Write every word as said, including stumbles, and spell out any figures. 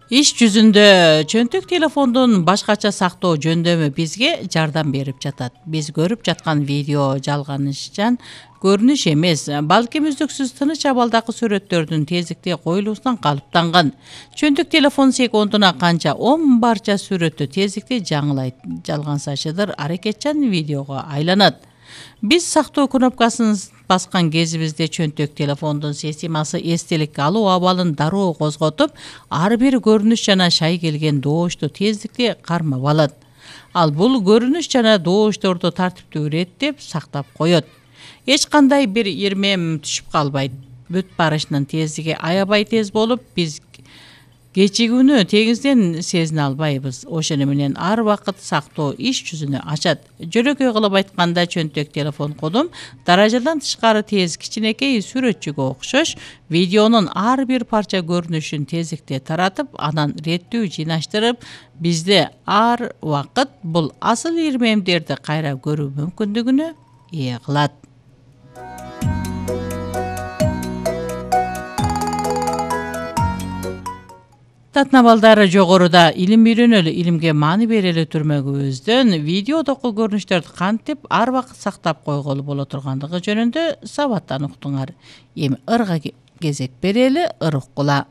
Иш жүзүндө чөнтөк телефондун башкача сактоо жөндөмү бизге жардам берип жатат. Биз көрүп жаткан видео жалганышчан көрүнүш эмес, балким үздүксүз тыныч абалдагы сүрөттөрдүн тездикте коюлуусунан калыптанган. Чөнтөк телефон секундуна канча он барча сүрөттү тездикте жаңылайт, жалгансашыдыр аракетчан видеого айланат. Биз сактоо кнопкасын баскан кезибизде чөнтөк телефондун системасы эстелик алуу абалын дароо козготуп, ар бир көрүнүш жана шай келген добушту тездикте кармап алат. Ал бул көрүнүш жана добушторду тартиптүү иреттеп сактап коет. Эч кандай бир ирмем түшүп калбайт. Бүт барышынын тездиги аябай тез болуп, биз кечигүүнү тегизден сезине албайбыз. Ошону менен ар убакыт сактоо иш жүзүнө ачат. Жөнөкөй кылып айтканда, чөнтөк телефон кодум даражадан тышкары тез кичинекей сүрөтчүгө окшош, видеонун ар бир парча көрүнүшүн тездикте таратып, анан реттүү жыйнаштырып, бизде ар убакыт бул асыл ирмемдерди кайра көрүү мүмкүндүгүнө ээ кылат. Татна балдары жогоруда илим үйрөнөлү, илимге маани берели түрмөгүбүздөн видеодогу көрүнүштөрдү кантип ар убакыт сактап койголу боло тургандыгы жөнүндө сабаттан уктуңар. Эми ырга кезек берели, ыр уккула.